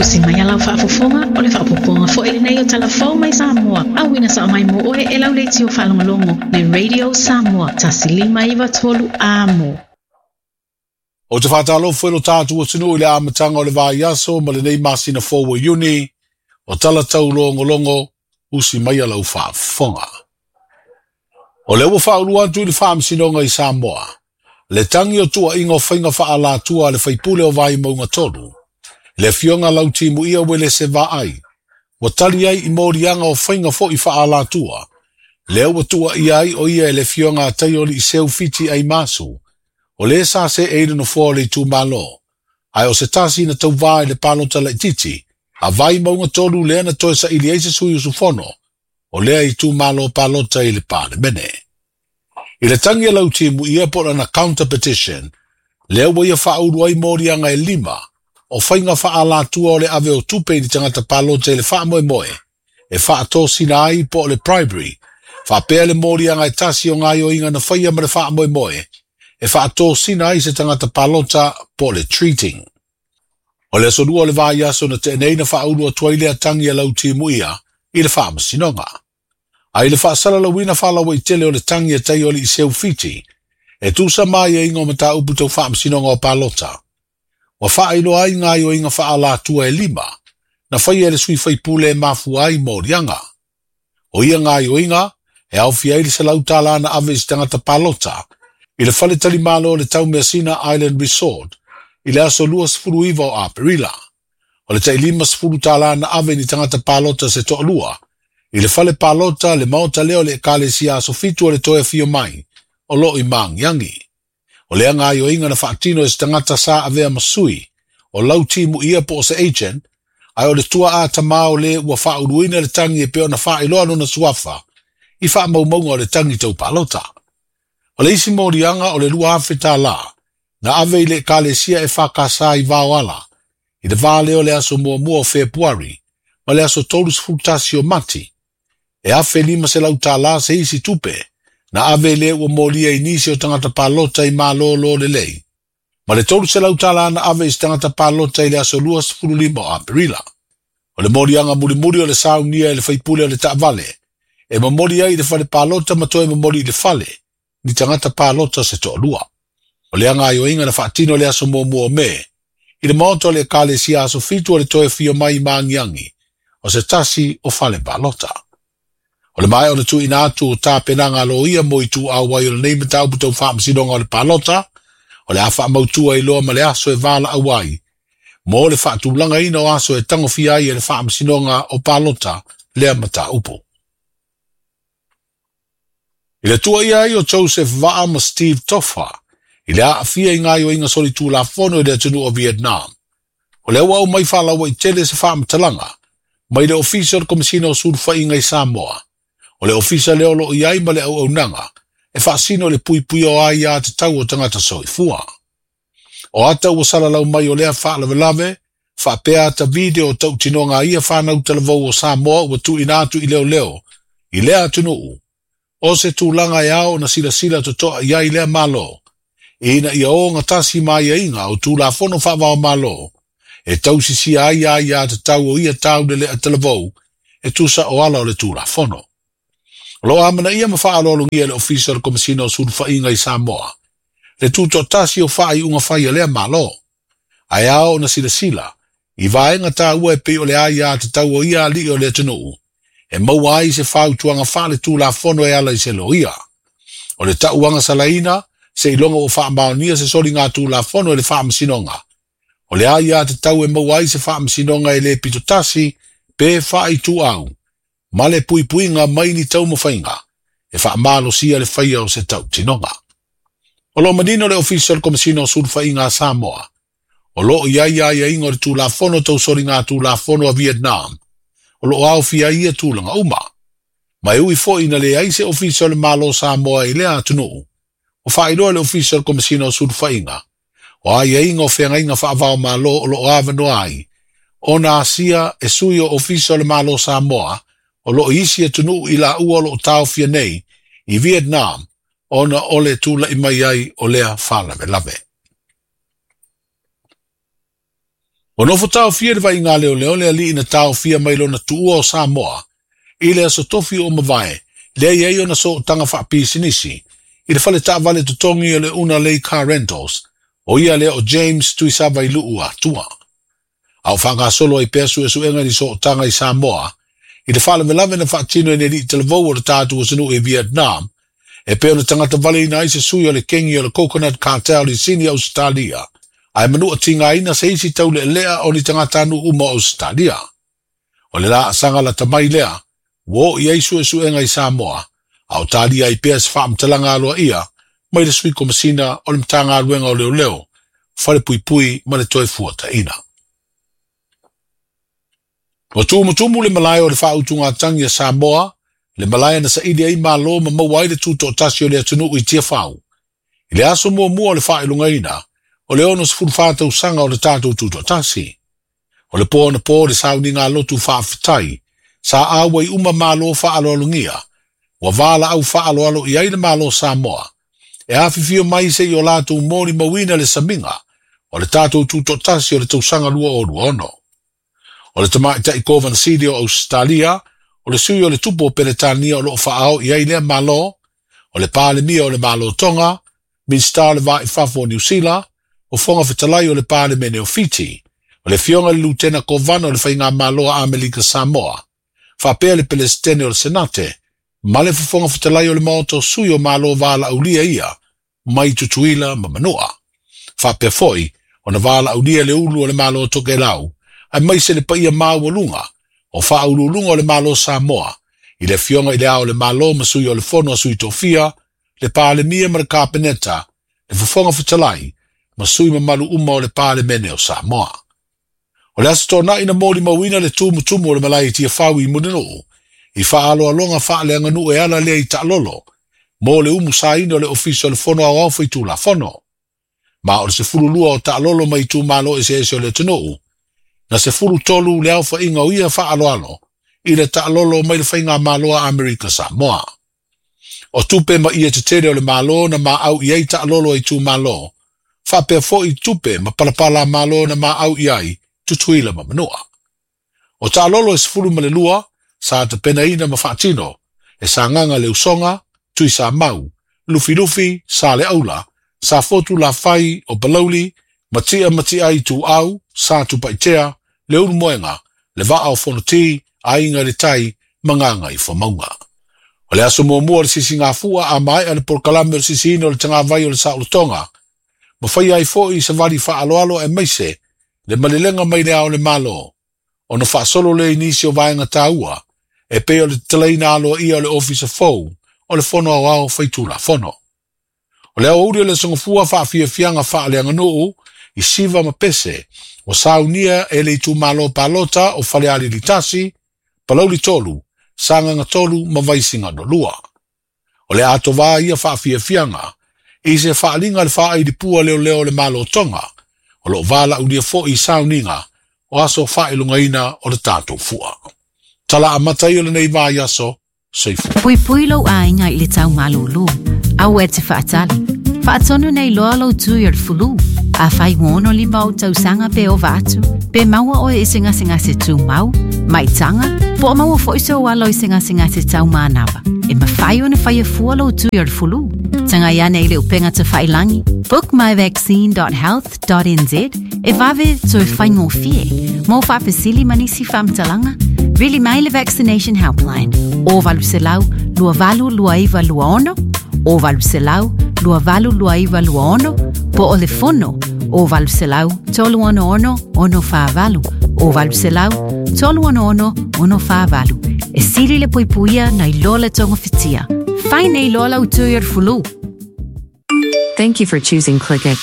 Usi mai a lau faafofoga, o le faaopoopoga foi lenei o Tala Fou mai Samoa, auina sao mai mo oe e lau leitio faalogologo, le Radio Samoa, 1593 Amo. Ou te faatalofa i lo tatou atunuu i le amataga o le vaiaso ma lenei masina fou o Iuni, o tala taulogologo, usi mai a lau faafofoga. O lea ua faaulu atu i le Faamasinoga i Samoa, le tagi o tuuaiga o faiga faaalatua a le faipule o Vaimauga 3, le afioga Lautimuia Uelese Vaai, ua tali ai i moliaga o faiga foi faaalatua, lea ua tuuaia ai o ia e le afioga a Taioliiseu Fiti Aimasu, o le sa se e i le nofoa o le itumalo, ae o se tasi na tauvā i le palota laitiiti, a Vaimauga 3 lea na toe saili ai se sui usufono, o lea itumalo palota i le Palemene. I le tagi a Lautimuia po o lana counter petition, lea ua ia faaulu ai moliaga e 5, o faiga faaalatua o le ave o tupe i le tagata palota i le faamoemoe, e faatosina ai po o le bribery, faapea le moliaga e tasi o gaoioiga na faia ma le faamoemoe, e faatosina ai se tagata palota po o le treating. O le aso 2 o le vaiaso na tea nei na faaulu atu ai lea tagi a Lautimuia i le Faamasinoga. Ai le faasalalauina faalauaitele o le tagi a Taioliiseu Fiti, e tusa mai aiga o mataupu tau Faamasinoga o palota. Ua faailoa ai gaoioiga faaalatua e 5, na faia e le sui faipule e mafua ai moliaga. O ia gaoioiga, e aofia ai le $100 na ave i se tagata palota, i le fale talimalo o le Taumeasina Island Resort, i le aso 29 o Aperila. O le tai $50 na ave ni tagata palota se toalua, i le fale palota le maota lea o le Ekalesia aso 7 o le toe afio mai, o loo i Magiagi. O lea gaoioiga na faatino e se tagata sa avea ma sui, o Lautimuia po o se agent, ae o le tuaa tamā o le ua faauluina le tagi e pei ona faailoa lona suafa, i faamaumauga o le tagi tau palota. O le isi moliaga o le $2,000, na ave i le Ekalesia e whakasa i Vaoala, i le vā lea o le aso muamua o Fepuari, ma le aso 31 o Mati, e $1,500 se isi tupe, na ave le ua molia i nisi o tagata palota i malōlō lelei, ma le $300 na ave i se tagata palota i le aso 25 o Aperila. O le moliaga mulimuli o le saunia e le faipule o le taavale, e momoli ai i le fale palota ma toe momoli i le fale, ni tagata palota se toalua. O le gaoioiga na faatino le aso muamua o Me, i le maota o le Ekalesia aso 7 o le toe afio mai i Magiagi, o se tasi o fale palota. O le maea o le tuuina atu o tapenaga loia mo ituau ai o lenei mataupu tau Faamasinoga o le palota, o le a faamautua i loa ma le aso e valaau ai, mo le faatulagaina o aso e tagofia ai e le Faamasinoga o palota lea mataupu. I le tuuaia ai o Joseph Vaa ma Steve Tofa, i le aafia i gaoioiga solitulafono i le atunuu o Vietnam. O lea ua aumai faalauaitele se faamatalaga, mai le Ofisa o le Komesina o Sulufaiga i Samoa. O le ofisa lea o loo i ai ma le auaunaga, e faasino le puipuia o aiā tatau o tagata soifua. O ata ua salalau mai o lea faalavelave, faapea ata video o tautinoga ia whanau talavou o Samoa ua tuuina atu i leoleo, i lea atunuu, o se tulaga e ao na silasila totoa i ai lea malo, ina ia o gatasi mai aiga o Tulafono faavao malo, e tausisia ai aiā tatau o ia taulele a talavou, e tusa o ala o le Tulafono. O loo amanaia ma faaaloalogia e le Ofisa o le Komesina o Sulufaiga i Samoa, le tutoatasi o faaiuga fai a lea malo, ae ao ona silasila, i vaega taua e pei o le aiā tatau o ia alii o le atunuu, e maua ai se fautuaga faale-tulafono e ala i se loia. O le tauaga salaina, se iloga ua faamaonia se soliga tulafono e le Faamasinoga. O le aiā tatau e maua ai se Faamasinoga e le pitotasi pe faaituau, ma le puipuiga mai ni taumafaiga, e faamalosia le faia o se tautinoga. O loo manino le Ofisa o le Komesina o Sulufaiga a Samoa, o loo i ai aiaiga o le Tulafono tau soliga tulafono a Vietnam, o loo aofia ai ia tulaga uma. Ma e ui foi na leai se Ofisa o le Malo Samoa i lea atunuu, o faailoa le Ofisa o le Komesina o Sulufaiga, o aiaiga o feagaiga faavao malo o loo avanoa ai, ona asia e sui o Ofisa o le Malo Samoa, o loo isi atunuu i laua o loo taofia nei i Vietnam, ona o le tula'i mai ai o lea faalavelave. Ua nofo taofia le vaaiga a leoleo le alii na taofia mai lona tuua o Samoa i le aso tofi ua mavae lea i ai ona sootaga faapisinisi i le fale taavale totogi o le Una Lei Car Rentals, o ia lea o James Tuisavailuu Atua. A o faagasolo ai pea suesuega i ni sootaga i Samoa i le faalavelave na faatino e ni alii talavou o le tatou atunuu i Vietnam e pei ona tagata valeina ai se sui o le kengi o le Coconut Cartel i Sini Ausetalia, ae manua tigaina se isi taulealea o ni tagatanuu uma o Ausetalia. O le laasaga lata mai lea ua oo i ai suesuega i Samoa, a o talia ai pea se faamatalaga aloaia mai le Sui Komasina o le Matagaluega o Leoleo, Falepuipui ma le Toefuataiga. Ua tumutumu le malae o le faautugatagi a Samoa, le malae na saili ai Malo ma maua ai le tutoatasi o le atunuu i Tiafau. I le aso muamua o le faailogaina o le 64 tausaga o le tatou tutoatasi. O le po anapo le sauniga lotu faafetai, sa auai uma Malo faaaloalogia, ua valaau faaaloalo i ai le Malo Samoa, e afifio mai se i o latou molimauina le samiga o le tatou tutoatasi o le tausaga 2026. O le tamaitai Kovana Sili o Ausetalia, o le sui o le Tupu o Peretania o loo faaao i ai lea Malo, o le Palemia o le Malo Tonga, Minisita o le Va i Fafo o Niu Sila, o Fofoga Fetalai o le Palemene o Fiti, o le Afioga i le Lutena Kovana o le Faigamalo a Amerika Samoa, faapea le Pelesitene o le Senate, ma le Fofoga Fetalai o le Maota o Sui o Malo Valaaulia ia mai Tutuila ma Manua. Faapea foi ona valaaulia le ulu o le Malo o Tokelau, aemaise le paia maualuga o faauluuluga o le Malo Samoa, i le Afioga i le Ao o le Malo ma Sui o le Fono a Sui Tofia, le Palemia ma le Kapeneta, le Fofoga Fetalai, ma sui mamalu uma o le Palemene o Samoa. O le Aso Toonai na molimauina le tumutumu o le malae i Tiafau i Mulinuu, i faaaloaloga faaleaganuu e ala lea i taalolo, mo le umusaina o le Ofisa o le Fono Aoao Faitulafono. Ma o le 12 o taalolo mai itumalo eseese o le atunuu, na 13 le aofaiga o ia faaaloalo i le taalolo mai le Faigamalo a Amerika Samoa. O tupe ma ie tetele o le Malo na maau i ai taalolo a itumalo, faapea foi tupe ma palapala a Malo na maau i ai Tutuila ma Manua. O taalolo e 12 sa tapenaina ma faatino e Sagaga le Usoga, Tuisamau, Lufilufi, Saleaula, Safotu Lafai o Palauli, Matia Matiai Ituau, Satupaitea, Leulumoega, Le Vaa o Fonoti, Aiga i le Tai ma Gagaifomauga. O le aso muamua o le sisigafua a maea le polokalame o le sisiina o le tagavai o le saolotoga, ma faia ai foi se vali faaaloalo aemaise le malelega mai le Ao o le Malo, ona faasolo lea i nisi o vaega taua e pei o le tatalaina aloaia o le Ofisa fou o le Fono Aoao Faitulafono. O le aoauli o le Aso Gafua faafiafiaga faaleaganuu i Siva ma Pese ua saunia e le itumalo palota o Falealili 1, Palauli 3, Sagaga 3 ma Vaisigano 2. O le atoa ia faafiafiaga i se faaaliga le faailipua leoleo o le Malo Tonga o loo valaaulia foi i sauniga o aso faailogaina o le tatou fua. Tala amata ia o lenei vaiaso, soifua. Puipui lou aiga i le tau malūlū. Aua e te faatali. Faatonu nei loa lou tui o le fulu. Afai ua 65 ou tausaga pe ova atu, pe maua oe i se gasegase tumau, maitaga, po o maua foi sou alo i se gasegase tau manava, e mafai ona faia fua lou tui o le fulu. Tagai ane i le upega tafailangi bookmyvaccine.health.nz e vave toe faigofie. Mo faafesili ma nisi faamatalaga, vili mai le Vaccination Helpline o 800 2829 26 o 800 2829 26 po o le fono o 800 366 648 o 800 366 648. E sili le puipuia nai lo le togafitia. Fai nei loa lau tui o le fulu. Thank you for choosing ClickX.